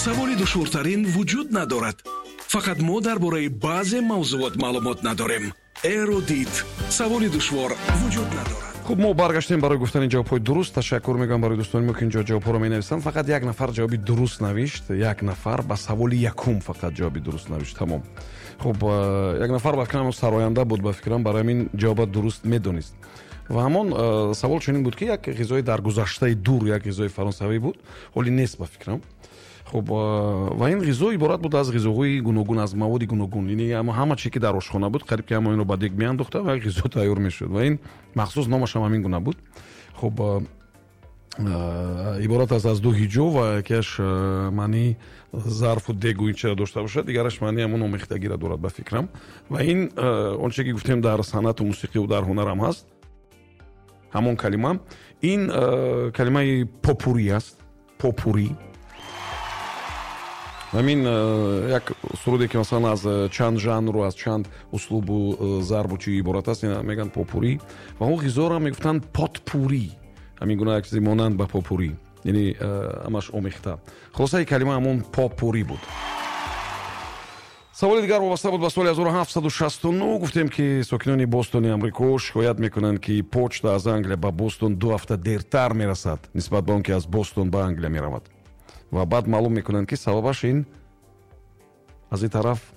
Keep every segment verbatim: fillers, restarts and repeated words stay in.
Саволи душвортарин вуҷуд надорад. Фақат мо дар бораи баъзе мавзӯот маълумот надорем. Эрудит. Саволи душвор вуҷуд надорад. Хуб, мо баргаштем барои гуфтани ҷавобҳои дуруст. Ташаккур мегӯям барои дӯстони мо, ки инҷо ҷавобҳоро менависанд. Фақат як нафар ҷавоби дуруст навишт, як нафар ба саволи якум фақат ҷавоби дуруст навишт, тамом. Хуб, як нафар, ба фикрам, сароянда буд, ба фикрам, барои ҳамин ҷавоба дуруст медонист. Ва ҳамон савол чунин буд, ки як ғизои дар гузаштаи дур, як ғизои фаронсавӣ буд, ҳоли нест, ба фикрам. Хуб, ва ин ғизо иборат буд аз ғизоҳои гуногун, аз маводи гуногун, яъне ҳама чизе, ки дар ошхона буд, қариб ки ҳама инро ба дег меандохта ва як ғизо тайёр мешуд, ва ин махсус номаш ҳам ҳамин гуна буд. Хуб, иборат аст аз ду ҳиҷо ва якеаш маънии зарфу дегу ин чиро дошта бошад, дигараш маънии ҳамон омехтагиро дорад, ба фикрам. Ва ин он чизе, ки гуфтем, дар санъату мусиқиву дар ҳунарам ҳаст ҳамон калима. Ин калимаи попури аст, попури. Ҳамин як суруде, ки масалан аз чанд жанру аз чанд услубу зарбу чи иборат аст, ина мегӯянд попури. Ва он ғизоро мегуфтанд потпури, ҳамин гуна як чизи монанд ба попури, яъне ҳамаш омехта. Хулосаи калима ҳамон попури буд. Саволи дигар вобаста буд ба соли ҳазору ҳафтсаду шасту нӯҳ. Гуфтем, ки сокинони Бостони Амрико шикоят мекунанд, ки почта аз Англия ба Бостон ду ҳафта дертар мерасад, нисбат ба он ки аз Бостон ба Англия меравад. Ва баъд маълум мекунанд, ки сабабаш ин аз ин тараф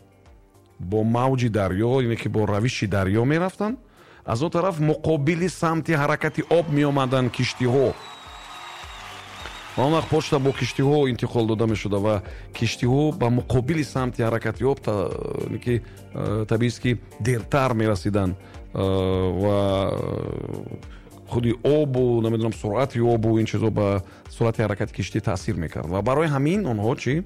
бо мавҷи дарё, ине ки бо равиши дарё мерафтанд, аз он тараф муқобили самти ҳаракати об меомаданд киштиҳо, ва он вақт почта бо киштиҳо интиқол дода мешуда, ва киштиҳо ба муқобили самти ҳаракати об ки э, табиист, ки дертар мерасиданд. э, ва худи обу, намедонам, суръати обу ин чизо ба суръати ҳаракати киштӣ таъсир мекард, ва барои ҳамин онҳо чӣ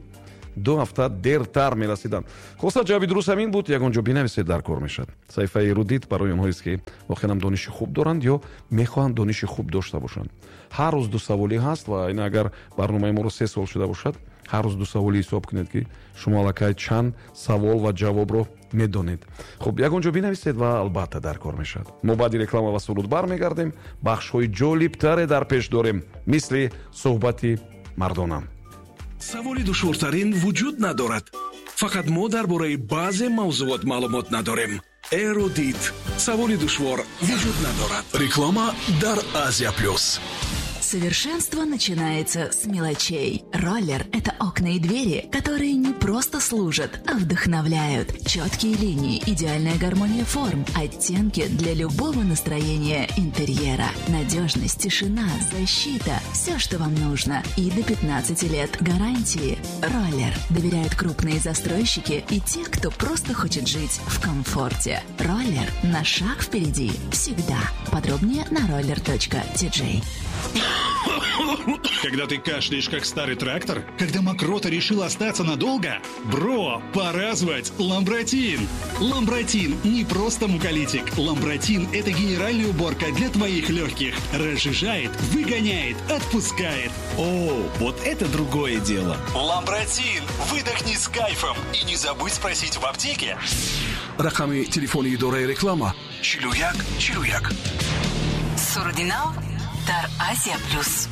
ду ҳафта дертар мерасиданд. Хулоса, ҷавоби дуруст ҳамин буд. Ягон ҷо бинависед, дар кор мешавад. Саҳифаи Эрудит барои онҳоест, ки воқеан дониши хуб доранд ё мехоҳанд дониши хуб дошта бошанд. Ҳар рӯз ду саволӣ ҳаст, ва ин агар барномаи моро се сол шуда бошад, ҳар рӯз ду саволӣ ҳисоб кунед, ки шумо аллакай чанд савол ва ҷавобро медонед. Хуб, ягон ҷо бинависед ва албатта дар кор мешавад. Мо баъди реклама ва суруд бармегардем, бахшҳои ҷолибтаре дар пеш дорем, мисли суҳбати мардона. Саволи душвортарин вуҷуд надорад. Фақат мо дар бораи баъзе мавзӯот маълумот надорем. Эрудит. Саволи душвор вуҷуд надорад. Реклама дар Азия Плюс. Совершенство начинается с мелочей. Роллер – это окна и двери, которые не просто служат, а вдохновляют. Четкие линии, идеальная гармония форм, оттенки для любого настроения интерьера. Надежность, тишина, защита – все, что вам нужно. И до пятнадцати лет гарантии. Роллер. Доверяют крупные застройщики и те, кто просто хочет жить в комфорте. Роллер на шаг впереди. Всегда. Подробнее на roller.tj. Когда ты кашляешь, как старый трактор? Когда мокрота решила остаться надолго? Бро, пора звать Ламбратин! Ламбратин не просто муколитик. Ламбратин – это генеральная уборка для твоих легких. Разжижает, выгоняет, отпускает. О, вот это другое дело. Ламбратин! Выдохни с кайфом. И не забудь спросить в аптеке. Рақами телефони идораи реклама чилу як чилу як. Суруди нав дар Азия Плюс.